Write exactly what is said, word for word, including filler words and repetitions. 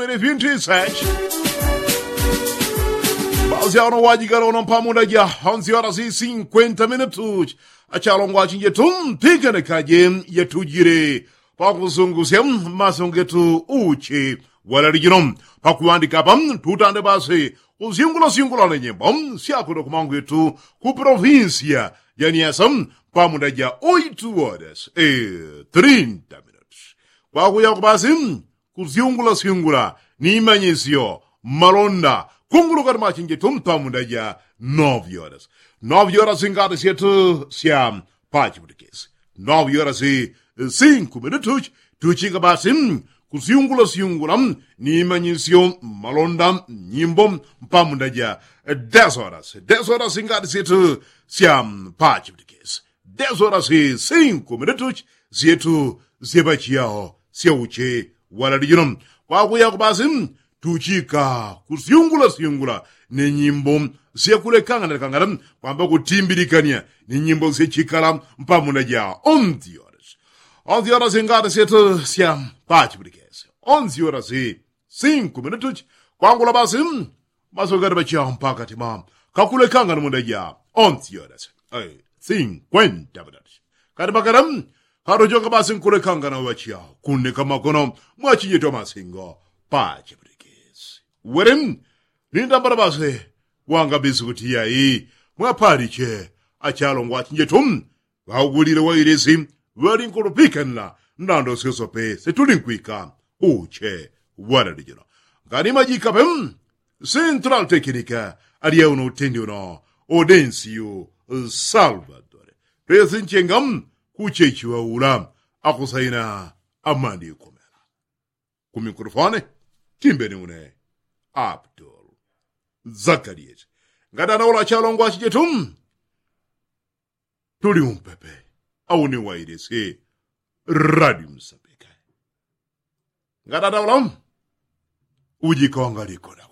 Pele vintu isachi. Basi ano wajigala uno mpamunda ja onzi ora si sinkwenta minutu. Achalongwa chinjetu mpikane kaje yatujile pakusungusya maso ngetu uche walalijino. Pakuwandika apa tutande basi kusyungulasyungula ne nyimbo syakwenda kumangwetu ku provinsia ja niasa mpamunda ja oitu horas e trinta minutu. Kwakuya kubasi kusyungulasyungula ni manyisyo malonda kungulukani machinjetu mpamunda ja novyoras. Novyoras ngati syetu sya pachiputikisi novyoras sinkume ni tuchi tuchika basi kusyungulasyungula ni manyisyo malonda nyimbo mpamunda ja desoras desoras ngati syetu sya pachiputikisi desoras sinkume ni tuchi syetu syepachiyaho syauche walalijino. Kwakuyako basi tuchika kusyungulasyungula ni nyimbo syakulekangana lekangana kwamba kutimbilikania ni nyimbo syachikala mpamunda ja onzi ora si onzi ora si ngati syetu sya pachipulikesi onzi ora si sinkume ni tuchi kwangula basi maso gati pachiyaho mpaka tima kakulekangana munda ja onzi ora si sinkwenta minutu. Kati pakati katochoka basi nkulekangana wachiyaho kuneka makono mwachinjetu amasingo pachipulikisi weri nindambala basi wanga bisikuti yayi mwapaliche achalongwa achinjetu ŵaugulile wailisi ŵalinkulupikana ndando syosope setulinkwika uche walalijino. Ngani majikape central tekinika alyauno utendi uno odensiu salvadore pesi nchenga kuchechiwa ula akusaina amani ikomela. Ku mikrofone timbeni une abdul zakaliyeti. Ngatana ula chalongwa chijetu tuli umpepe au ni wailisi radi msapika. Ngatana ula ujikawangaliko na